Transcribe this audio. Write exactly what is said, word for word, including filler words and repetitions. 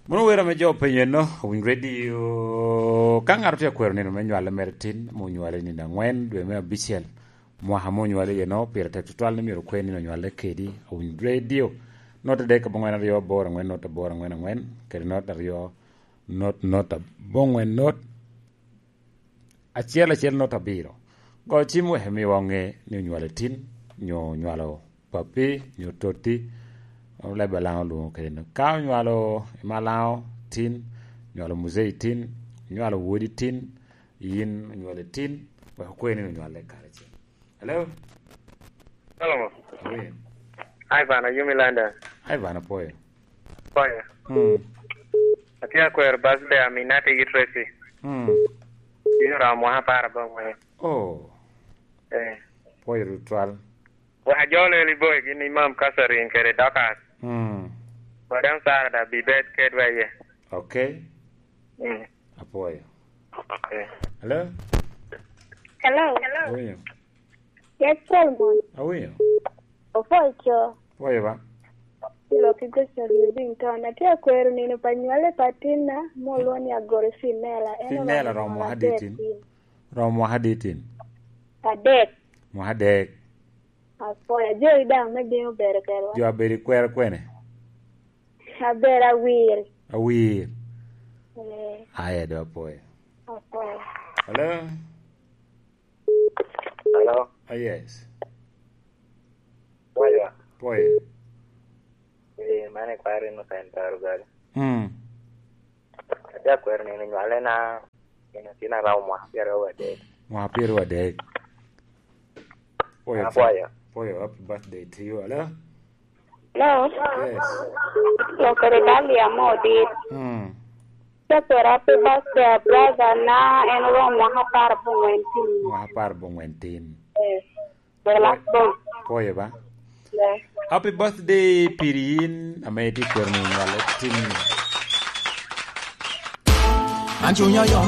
Mono wer ame jo openyo eno, Awiny Radio, ka ŋat otye akwero nino me nywale mere tin, ame onywale i nino angwen, dwe me abicel, mwaka ame onywale iye no, pire tek tutwal ni myero okwer nino onywale kedi, Awiny Radio. Not adek abongwen aryo aboro angwen, not aboro angwen angwen, kede not aryo, not, not abongwen, not acel acel not abiro. Go cim wek imiwa ŋe ni onywale tin, nyo onywalo papi, nyo totti, leb Alaŋo olwoŋo kede no. Ka onywalo i Malaŋo tin, onywalo Muzei tin, onywalo wodi tin, yin onywale tin, wek okwe ni onywale karacel. Hello? Hello. Awi. Hi, Van, are you Milanda? Hi, Van, apwoyo. Apwoyo. Hmm. Atye akwero birthday Aminata gi Tracy. Hmm. Bino romo mwaka apar abongwen. Oh. Eh. Apwoyo tutwal. Wa jolo eli boy gin Imam Catherine kede Dorcas. Hmm. Madam Sarah da bibet kedwa iye. Okay. Mm. Apwoyo. Eh. Hello? Hello. Awinyo. Yes, Solomon. Awinyo. Opwoyo co. Pwoyo ba. Ilo ki Grace Odiobi Nton. Atye akwero nino pa nywale pa tinna, molwo ni Agoro Finela. En Finela oromo romo mwaka adek tin. Romo mwaka adek tin. Adek. Mwaka adek. Apwoyo. Ajoli daŋ me bino bedo kedwa. Jo abedo i kwero kwene? Aber awir. Awir. Eh. Aye do apwoyo. Apwoyo. Hello? Hello? Ah, yes. Pwoyo. Pwoyo. Eh, mano ikwaro Innocent Arugal. Hmm. Atye akwero nino nywale na, nino tin arabo mwaka pyeraryo wadek. Mwaka pyeraryo wadek. Pwoyo. Apwoyo. Pwoyo, happy birthday to you. Hello? Hello? Yes. Lokere Dalia Modit. Hmm. Atye akwero happy birthday, brother na, en oromo mwaka apar abongwen tin. Mwaka apar abongwen tin. Yes. Pwoyo ba? Happy birthday piri yin ame itye kwero nino nywale tin. An cunya yom.